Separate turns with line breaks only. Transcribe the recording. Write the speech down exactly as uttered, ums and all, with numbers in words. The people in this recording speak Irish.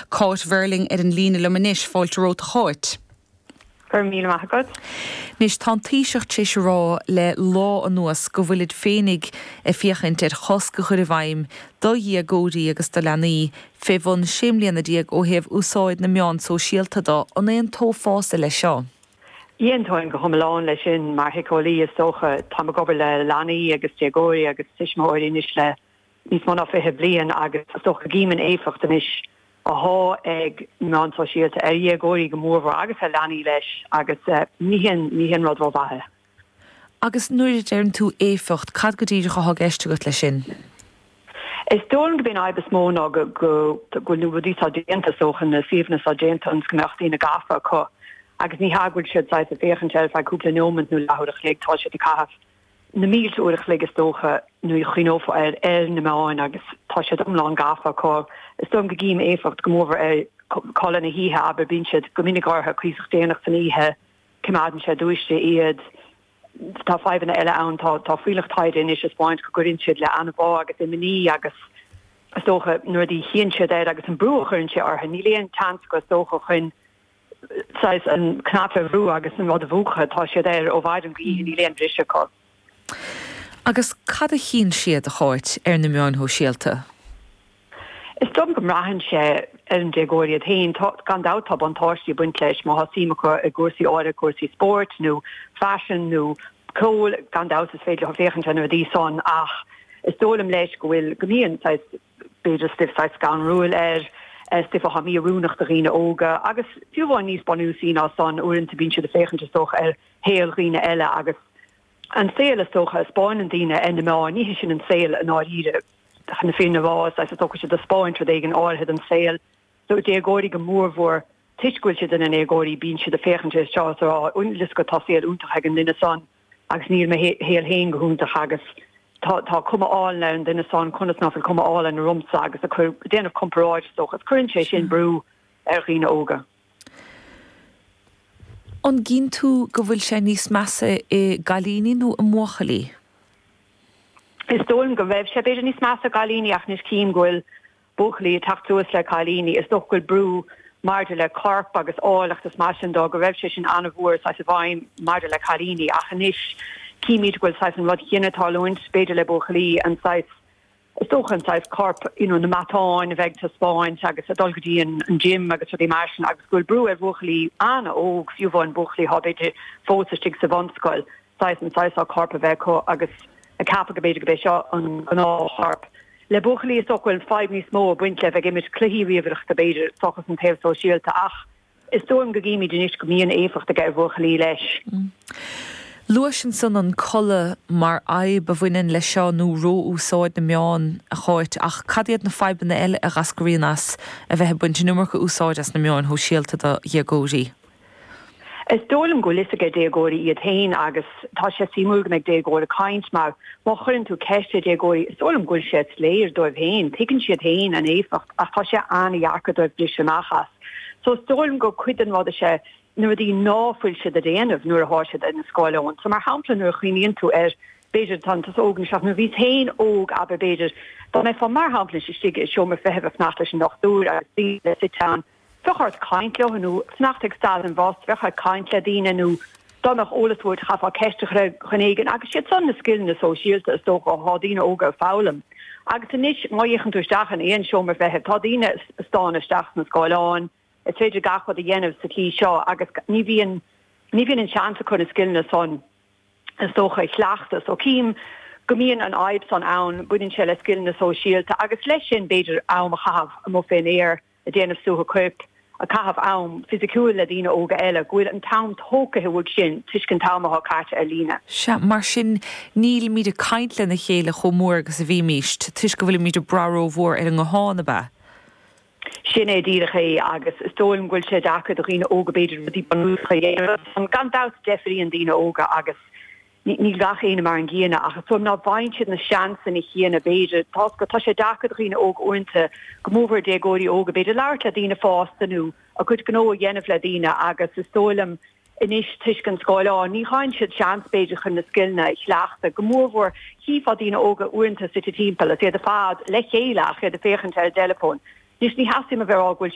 Cáit Verling ar an líne liom anois fáilte romhat a Cháit.
Gur mí agat.
Anois tá an Taoiseach tar éis a rá le lá anuas go bhfuilid féinig ag féachaint ar chosc a chur i bhfeidhm do dhéagóirí agus do leanaí fé bhun sé bliana déag ó thaobh úsáid na meán sóisialta de an aontófá leis seo.
Aontaím go hiomlán leis sin mar shíceolaí is dócha tá ag obair le leanaí agus déagóirí agus tuismitheoirí anois le níos mó ná fiche bliain agus is dócha gcím an éifeacht anois atá ag meáin sóisialta ar dhéagóirí go mórmhór agus ar leanaí leis agus uh, ní hin ní hin rud rómhaith.
Agus nuair a deireann tú éifeacht cad go díreach atá i gceist agat leis sin.
Is dóigh go b'in is mó ná go go bhfuil na rudaí seo déanta so chun na suíomhanna seo déanta ionas go mbeadh daoine gafa acu agus ní ha bhfuil siad ag féachaint air feadh cúpla nóiméad nó leathuair a chloig tá siad ag caitheamh na mílte uair a chloig is dócha nó chuofa ar ar na meáin agus tá siad iomlán gafa acu is dóigh go gcím éifeacht go mór ar codladh na hoíche aber bíonn siad go minic orthu cuíosach déanach san oíche coimeádann sé dúiste iad tá fadhbanna eile ann tá tá fuílleach taighde anois ag spáint go gcuireann siad le anbhá agus imní agus is dócha nuair a chíonn siad air agus an brú a chuireann sé orthu níl aon chance go is dócha chun an cnaipe a bhrú agus an rud a mhúchadh tá siad air ó mhaidin go hoíche níl aon bhriseadh acu.
Agus cad a chíonn siad a Cháit ar na meáin shóisialta?
Is dóigh go mbraitheann sé ar an déagóir iad féin gan dabht tá buntáistí ag baint leis má tá suim acu i gcúrsaí áirithe cúrsaí spóirt nó fashion nó ceol gan dabht is féidir féachaint ar na rudaí san ach is dóigh liom leis go bhfuil go mbíonn b'fhéidir stuif scanrúil air stuif atá mí-oiriúnach do dhaoine óga agus fiú amháin níos bunúsaí ná san uaireanta bíonn siad ag féachaint is dócha ar shaol dhaoine eile agus an saol is dócha a spáineann daoine ar na meáin ní sin an saol i ndáiríre chun na fírinne a rá is dócha siad ag spáint rud éigin áirithe den saol so déagóirí go mórmhór toisc go bhfuil siad ina ndéagóirí bíonn siad ag féachaint air seo rá lis go tá saol iontach ag an duine san agus níl mo shaol féin go hiontach agus tá tá cuma álainn ar an duine san conas nach bhfuil cuma álainn ormsa agus a chur déanamh comparáid is dócha cuireann sé sin brú ar dhaoine óga.
An gcíonn tú go bhfuil sé níos measa i gcailíní nó i mbuachaillí?
Is dóigh go raibh sé b'fhéidir níos measa i gcailíní ach anois cím go bhfuil buachaillí ag teacht suas le cailíní is dócha go bhfuil brú maidir le corp agus áilleacht is mar sin de go raibh sé sin an-mhór sa bhfeidhm maidir le cailíní ach anois címid go bhfuil saghas an rud céanna ag tarlúint b'fhéidir le buachaillí an saghas is dócha an saghas corp you know, na matáin a bheith ag taispeáint agus a dul go dtí an, an gym agus rudaí mar sin agus go bhfuil brú ar bhuachaillí an-óg fiú amháin buachaillí atá b'fhéidir fós istigh sa bhunscoil saghas an saghas corp a bheith acu agus ag ceapadh go b'fhéidir go b'é seo an gnáthchorp. Le buachaillí is dócha go bhfuil fadhb níos mó ag baint le bheith ag imirt cluichí ríomhaireachta b'fhéidir seachas an taobh sóisialta ach is dóigh go gcímid anois go mbíonn éifeacht ag ar bhuachaillí leis.
Mm. Luais ansan an codladh mar fhadhb a bhaineann leis seo nó ró-úsáid na meán a Cháit ach cad iad na fadhbanna eile a eascraíonn as a bheith ag baint an iomarca úsáid as na meáin shóisialta do dhéagóirí.
Is dóigh liom go bhfuil fhios ag déagóirí iad féin agus tá sé suimiúil go mbeidh déagóir ag caint mar má chuireann tú ceist ar déagóirí is dóigh liom go bhfuil sé soiléir dóibh féin, tuigeann siad féin an éifeacht ach tá sé an-dheacair dóibh briseadh amach as. So is dóigh liom go cuid den rud sé na rudaí nach bhfuil siad a dhéanamh nuair atá siad ar na scáileáin. So mar shampla nuair a chuimhníonn tú ar b'fhéidir tá tusa óg seach nuair a bhís féin óg aber b'fhéidir dá mbeifeá mar shampla istigh i seomra feithimh ag fanacht leis an dochtúir agus daoine suite ann bheadh ort caint leo nó fanacht ag stad an bhus bheadh ort caint le daoine nó dá mbeadh eolas uait chaithfeá ceist a chur ar dhuine éigin agus siad san na scileanna sóisialta is dócha atá daoine óga ag foghlaim. Agus anois má fhéachann tú isteach in aon seomra feithimh tá daoine ag stánadh isteach sna scáileáin, is féidir gach rud a dhéanamh sa tslí seo agus ní bhíonn ní bhíonn an seans acu na scileanna san is dócha a chleachtadh. So cím go mbíonn an fhadhb san ann baineann sé le scileanna sóisialta agus leis sin b'fhéidir am a chaitheamh amuigh fén aer ag déanamh suaitheadh coirp ag caitheamh am fisiciúil le daoine óga eile, go bhfuil an t-am tógtha uaidh sin toisc an t-am atá caite ar líne.
Sea, mar sin nílimid ag caint lena chéile chomh mór agus a bhímist, toisc go bhfuilimid ag brath rómhór ar an nguthán ab ea?
Sin é díreach é agus is dóigh liom go bhfuil sé deacair do dhaoine óga b'fhéidir rudaí bunúsacha a dhéanamh. Gan dabht deifríonn daoine óga agus níl gach éinne mar an gcéanna ach is dóigh liom ná bhfaigheann siad na seansanna céanna b'fhéidir. Tá tá sé deacair do dhaoine óga uaireanta go mórmhór déagóirí óga b'fhéidir labhairt le daoine fásta nó a gcuid gnó a dhéanamh le daoine agus is dóigh liom anois toisc an scáileán ní fhaigheann siad seans b'fhéidir chun na scileanna a chleachtadh go mórmhór chífeá daoine óga uaireanta suite timpeall is iad ar fad le chéile ach iad ag féachaint ar a dteileafón. Anois ní theastaíonn a bheith rá go bhfuil